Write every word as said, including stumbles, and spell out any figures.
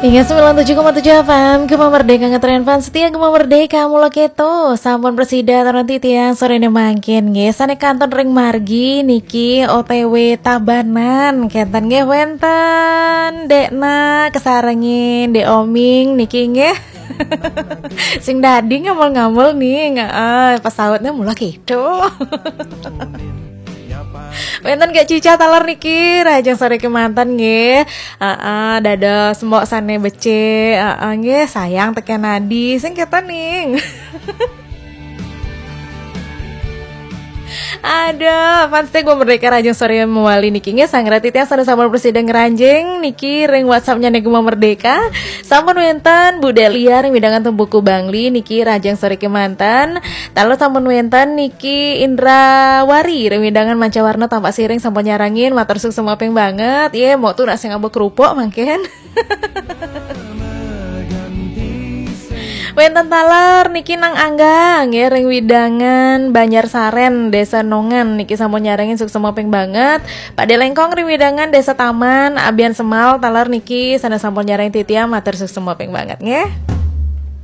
Ingat sembilan tujuh koma tujuh F M, Gema Merdeka ngetren fans setia Gema Merdeka mula keto. Sampun presida taran titiang sore ne mangkin nggih. Sane kanton ring margi niki O T W Tabanan. Kenten nggih wenten Dekna kesarengin Dek Oming niki nggih. Sing dadi ngamul-ngamul nih, heeh, pesautnya mula keto. Wenten Kak Cica taler niki, rahajeng sore kemanten nggih. Heeh, dados mbok sane becik, heeh nggih, sayang teken adi, sing keton ning. Aduh, fans Gema Merdeka rahajeng sore mewali niki nggih, sangrati tiang sane sampun presida ngranjing niki ring WhatsApp-nya Gema Merdeka. Sampun wenten Bu Delia ring wewidangan Tempuku Bangli niki rahajeng sore kemanten. Taler sampun wenten niki Indra Wari ring wewidangan Mancawarna Tampak Siring sampun nyarengin, matur suksma ping banget. Ye, mok tu nak sing ngaba kerupuk mangkin. Wenten taler niki Nang Angga nggih ring wewidangan Banjar Saren, Desa Nongan niki sampun nyarengin suksma ping banget. Pak De Lengkong ring wewidangan Desa Taman, Abian Semal taler niki sane sampun nyarengin titiang, matur suksma ping banget nggih.